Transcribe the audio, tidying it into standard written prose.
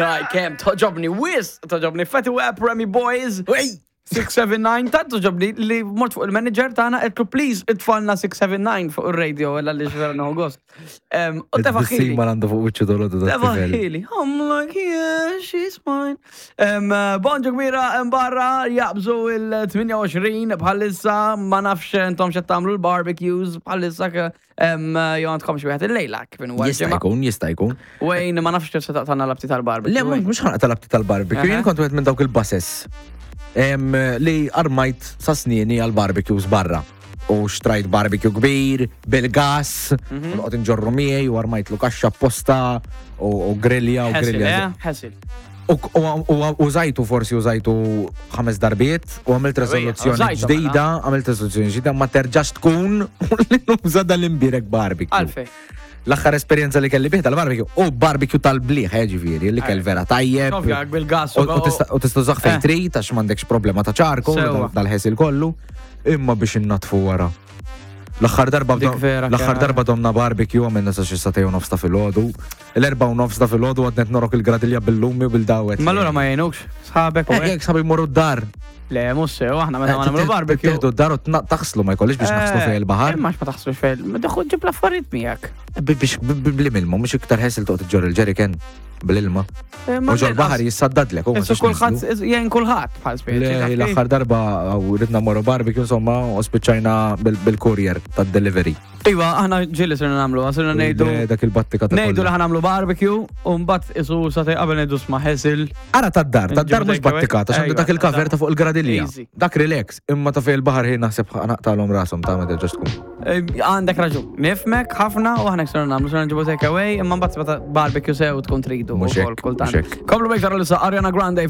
Taj, kem, toġobni wis, toġobni Fatty Web, Remy Boys. 679, tant toġobni li mort fuq il-manager tagħna qedlu please itfalna 679 fuq ir-radio illa li vera nieħu gost. U tefaħili. Ma għandu fuq wiċċu dolodu Tefaħili. I'm like, yeah, she's mine. Bonġu kbira barra jaqbżu il-28 bħalissa ma nafx intom xed tagħmlu l-barbecues bħalissa Jew għandkom xi wieħed illejla kif inhu Jista' jkun, jista' jkun. Wayne, ma nafx kif se taqtagħna l-abti tal-barbecue. Le, mhux ħanaqta l-abti tal-barbecue, jien kont wieħed minn dawk il-bases li armajt sa snieni għal-barbecues barra. U xtrajt barbecue kbir, bil-gas, mhm. u noqgħod inġorru miegħi u armajt lu kaxxa apposta u grilja u grilja. Eh? Ħesil. U użajtu forsi użajtu ħames darbiet u għamilt rezoluzzjoni ġdida, għamilt rezoluzzjoni ġdida ma terġax tkun li nuża dal-imbirek barbecue. Għalfej. L-aħħar esperjenza li kelli bih tal-barbecue u barbecue tal-bliħ, eh, ġifieri, li kell vera tajjeb. bil-gas. U tista' użah fejn eh. trid għax m'għandekx problema ta' ċarko dal-ħesil kollu, imma biex innatfu wara. L-aħħar darba l-aħħar darba domna barbecue għamilna sa xi satej u nofs ta' filgħodu. L-4:30 ta' filgħodu għadnet norok il-gradilja bil-lumi u bil-dawet. Ma allura ma jgħinukx sħabek u eh, Jekk sħabi jmorru d-dar. Le, mhux sew, aħna meta ma nagħmlu barbecue. Tieħdu d-dar u taħslu ma jkollix biex naħslu eh, fejn il-baħar. Imma ma taħslu fejn, ma teħu ġib l-affarijiet miegħek. Biex bl-ilma, mhux iktar ħesel toqgħod iġġor il-ġeriken bl-ilma. Eh, u ġol baħar jissaddadlek. Issu kulħadd jgħin kulħadd bħal speċi. L-aħħar darba ridna morru barbecue insomma u spiċċajna bil-courier tad-delivery. Iva, aħna ġieli sirna nagħmlu, sirna ngħidu. Dak il-battika ta' Ngħidu li ħanamlu barbecue u mbagħad isu sa qabel ngħidu sma' ħesil. Ara tad-dar, tad-dar mhux battikata, x'għandu dak il-cover ta' fuq il-gradilja. Dak relax, imma ta' fejn il-baħar ħin naħseb naqtalhom rashom ta' meta ġast tkun. Eh, għandek raġun, nifmek ħafna u aħna sirna nagħmlu, sirna nġibu take away, imma mbagħad barbecue sew tkun tridu. Mhux hekk, Komplu bejk tara l Ariana Grande.